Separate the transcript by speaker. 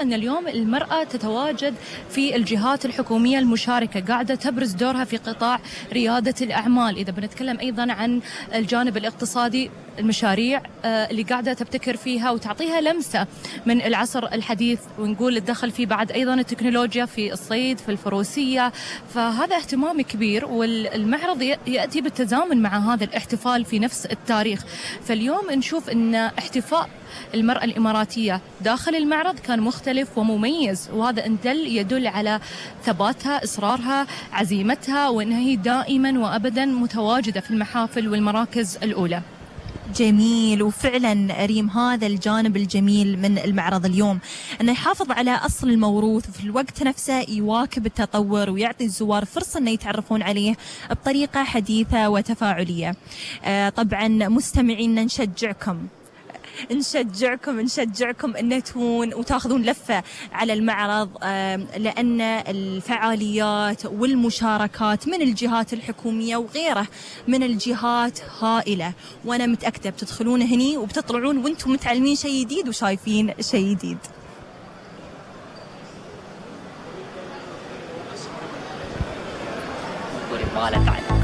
Speaker 1: أن اليوم المرأة تتواجد في الجهات الحكومية المشاركة، قاعدة تبرز دورها في قطاع ريادة الأعمال. إذا بنتكلم أيضا عن الجانب الاقتصادي، المشاريع اللي قاعدة تبتكر فيها وتعطيها لمسة من العصر الحديث، ونقول الدخل فيه بعد أيضا التكنولوجيا في الصيد، في الفروسية. فهذا اهتمام كبير، والمعرض يأتي بالتزامن مع هذا الاحتفال في نفس التاريخ. فاليوم نشوف أن احتفاء المرأة الإماراتية داخل المعرض كان مختلف ومميز، وهذا يدل على ثباتها، إصرارها، عزيمتها، وأنها هي دائما وأبدا متواجدة في المحافل والمراكز الأولى.
Speaker 2: جميل. وفعلا ريم، هذا الجانب الجميل من المعرض اليوم، أنه يحافظ على أصل الموروث وفي الوقت نفسه يواكب التطور ويعطي الزوار فرصة أن يتعرفون عليه بطريقة حديثة وتفاعلية. طبعا مستمعين نشجعكم أن تكون وتاخذون لفة على المعرض، لأن الفعاليات والمشاركات من الجهات الحكومية وغيره من الجهات هائلة، وأنا متأكدة بتدخلون هني وبتطلعون وانتم متعلمين شيء جديد وشايفين شيء جديد.
Speaker 1: تعال